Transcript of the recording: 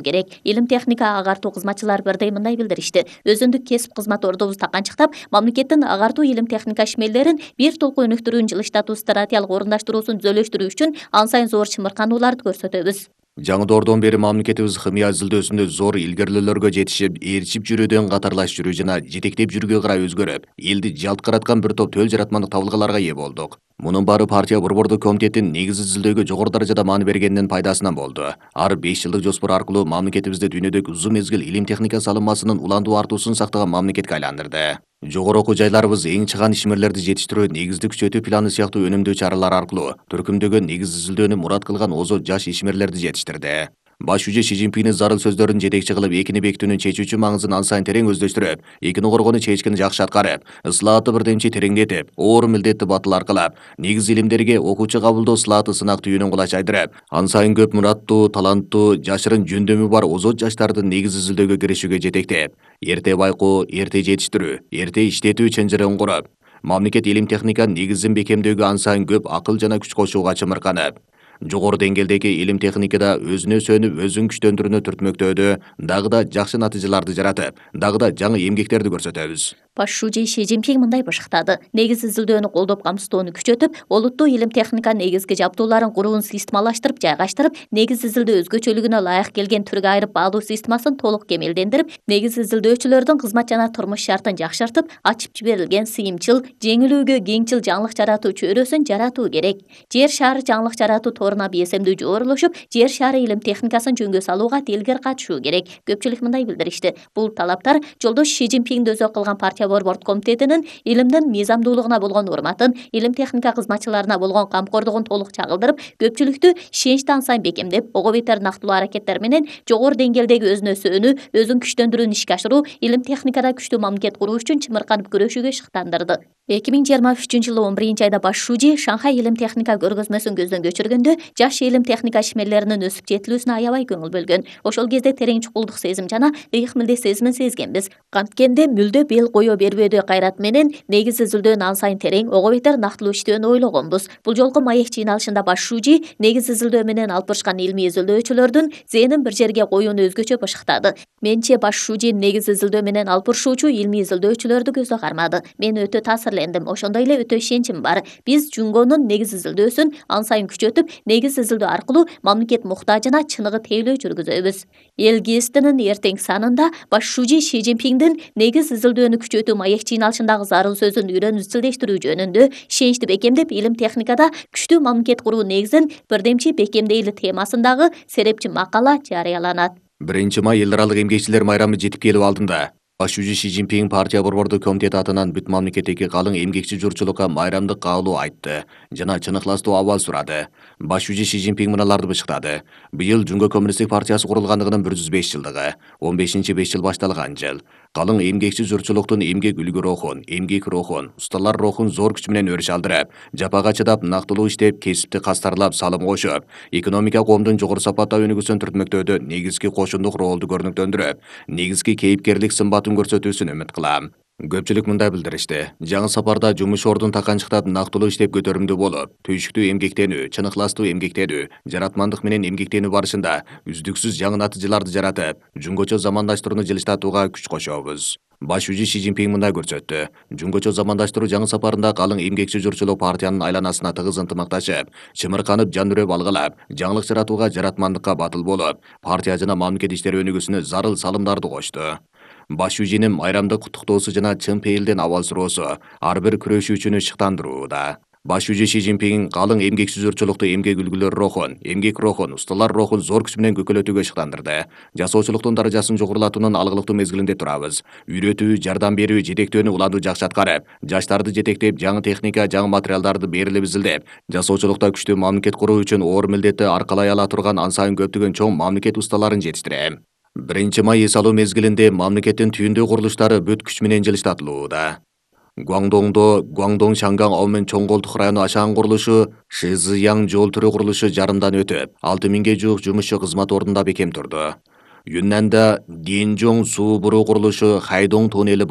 керек. Илим техника агартуу кызматчылары бирдей мындай билдиришти. Өзүндүк кесип кызмат ордубузду канчыктап, мамлекеттин агартуу илим техника ишмерлерин бир толку өнүктүрүүнү жылыштатуу стратегиялык орундаштыруусун түзөлүштүрүү үчүн ан сайын зор чымырканууларды көрсөтөбүз. Жаңы доордон бери мамлекетибиз химия изилдөөсүндө зор илгерилөөлөргө жетишип, ээрчип жүрүүдөн катарлашып жүрүү жана жетектеп жүрүүгө карай өзгөрүп, элди жалт караткан бир топ төл жаратмандык табылгаларга ээ болдук. Мунун баары партия борбордук комитеттин негизи изилдөөгө жогору даражада маани бергенинин пайдасынан болду. Ар 5 жылдык жоспор аркылуу мамлекетибизди дүйнөдөгү узун мезгил илим техника салынмасынын уландуу артуусун сактаган мамлекетке айландырды. Жогору окуу жайларыбыз эң чыган ишмерлерди жетиштирүү, негизди күчөтүү планы сыяктуу өнүмдүү чаралар аркылуу төркүмдөгөн негиз изилдөөнү мурат кылган озот жаш ишмерлерди жетиштирди. Баш жүзү Си Цзиньпиндин зарыл сөздөрүн жетекчи кылып, экини бекитүүнүн чечүүчү маңызын ан сайын терең өздөштүрүп, экини коргоону чечкини жакшы аткарып, ыслаатты бирдемчи тереңдетип, оор милдетти батыл аркылап, негиз илимдерге окуучу кабылдоо ысылааты сынак түйүнүн кулачайдырып, ан сайын көп мураттуу, таланттуу, жашырын жөндөмү бар озот жаштарды негиз изилдөөгө киришүүгө жетектеп, эрте байкоо, эрте жетиштирүү, эрте иштетүү чынжырын куруп, мамлекет илим техниканын негизин бекемдөөгө ан сайын көп акыл жана күч кошууга чымырканып, жогору деңгээлдеги илим техникада өзүнө сөнүп, өзүн күчтөндүрүүнү түртмөктөөдө дагы да жакшы натыйжаларды жаратып, дагы да жаңы эмгектерди көрсөтөбүз. Баш жүзү Си Цзиньпин мындай башыктады. Негиз изилдөөнү колдоп камсыздоону күчөтүп, олуттуу илим техниканын негизги жабдууларын куруун системалаштырып, жайгаштырып, негиз изилдөө өзгөчөлүгүнө ылайык келген түргө айырып баалуу системасын толук кемелдендирип, негиз изилдөөчүлөрдүн кызмат жана турмуш шартын жакшыртып, ачып жиберилген сыйымчыл, жеңилүүгө кеңчил жаңылык жаратуу чөйрөсүн жаратуу керек. Жер шары жаңылык жаратуу торуна БСМдүү жогорулашып, жер шары илим техникасын жөнгө салууга телгер катышуу керек. Көпчүлүк мындай билдиришти. Бул талаптар жолдош Си Цзиньпинди өзөк кылган партия борбордук комитетинин илимдин мыйзамдуулугуна болгон урматын, илим техника кызматчыларына болгон камкордугун толук чагылдырып, көпчүлүктү ишеничти ан сайын бекемдеп, ого бетер нактылуу аракеттер менен жогору деңгээлдеги өзүнө сөнүү, өзүн күчтөндүрүүнү ишке ашыруу, илим техникада күчтүү мамлекет куруу үчүн чымырканып күрөшүүгө шыктандырды. 2023-жылы 11-айда баш жүзү Шанхай илим техника көргөзмөсүн көздөн кечиргөндө, жаш илим техника ишмерлеринин өсүп жетилүүсүнө аябай көңүл бөлгөн. Ошол кезде терең чукулдук сезим жана ыйык милдет сезимин сезгенбиз. Канткенде мүлдө бел кое бербөөдө кайрат менен негиз изилдөөнү ан сайын терең, ого бетер нактылуу иштөөнү ойлогонбуз. Бул жолку маек жыйналышында баш жүзү негиз изилдөө менен алып барышкан илмий изилдөөчүлөрдүн зээнин бир жерге коюуну өзгөчө башыктады. Менче баш жүзү негиз изилдөө менен алып барышуучу илмий изилдөөчүлөрдү көздөй кармады. Мен өтө таасирлендим, ошондой эле өтө ишеничим бар. Биз Жунгонун негиз изилдөөсүн ан сайын күчөтүп, негиз изилдөө аркылуу мамлекет муктажына чыныгы тейлөө жүргүзөбүз. Эл ГИСТинин эртең санында баш жүзү Си Цзиньпиндин негиз изилдөөнү күчөтүү маек жыйналышындагы зарыл сөзүн үйрөнүп изилдештирүү жөнүндө ишеничти бекемдеп, илим техникада күчтүү мамлекет куруу негизин бирдемчи бекемдейли темасындагы серепчи макала жарыяланат. 1-май эл аралык эмгекчилер майрамы жетип келип алдында. Баш жүзү Си Цзиньпин партия борбордук комитети атынан бүт мамлекеттеги калың эмгекчи журтчулукка майрамдык каалоо айтты жана чын ыхластуу абал сурады. Баш жүзү Си Цзиньпин мыналарды бышыктады. Быйыл Жунго коммунисттик партиясы курулгандыгынын 105 жылдыгы, 15-5 жыл башталган жыл. Калың эмгекчи журтчулуктун эмгек үлгү рухун, эмгек рухун, усталар рухун зор күч менен өрүш алдырып, жапага чыдап, нактылуу иштеп, кесипти кастарлап, салым кошуп, экономика коомдун жогору сапатта өнүгүүсүн түртмөктөөдө негизги кошундук ролду көрүнүктөндүрүп, негизги кейипкерлик сымбатын көрсөтүүсүн үмүт кылам. Көпчүлүк мындай билдиришти. Жаңы сапарда жумуш ордун таканчыктап, нактылуу иштеп көтөрүмдүү болуп, түйшүктүү эмгектенүү, чын ыхластуу эмгектенүү, жаратмандык менен эмгектенүү барышында үздүксүз жаңы натыйжаларды жаратып, жунгочо замандаштырууну жылыштатууга күч кошобуз. Баш жүзү Си Цзиньпин мындай көрсөттү. Жунгочо замандаштыруу жаңы сапарында калың эмгекчи журтчулук партиянын айланасына тыгыз ынтымакташып, чымырканып, жан үрөп алгылап, жаңылык жаратууга, жаратмандыкка батыл болуп, партия жана мамлекет иштери өнүгүүсүнө зарыл салымдарды кошту. Баш жүзүнүн майрамдык куттуктоосу жана чын пейилден абал суроосу ар бир күрөшүүчүнү шыктандырууда. Баш жүзү Си Цзиньпин калың эмгекчи журтчулукту эмгек үлгүлөр рухун, эмгек рухун, усталар рухун зор күч менен көкөлөтүүгө шыктандырды. Жасоочулуктун даражасын жогорулатуунун алгылыктуу мезгилинде турабыз. Үйрөтүү, жардам берүү, жетектөөнү уланду жакшы аткарып, жаштарды жетектеп, жаңы техника, жаңы материалдарды берилип изилдеп, жасоочулукта күчтүү мамлекет куруу үчүн оор милдетти аркалай ала турган ан сайын көптөгөн чоң мамлекет усталарын жетиштирем. 1-май эс алуу мезгилинде мамлекеттин түйүндүү курулуштары бүт күч менен жылыштатылууда. Гуаңдоңдо Гуаңдоң Шанган Аомен чоң колдук району Ашан курулушу, Шизыяң жол түрү курулушу жарымдан өтүп, 6000ге жуук жумушчу кызмат ордунда бекем турду. Юннанда Динжоң суу буруу курулушу, Хайдоң туннели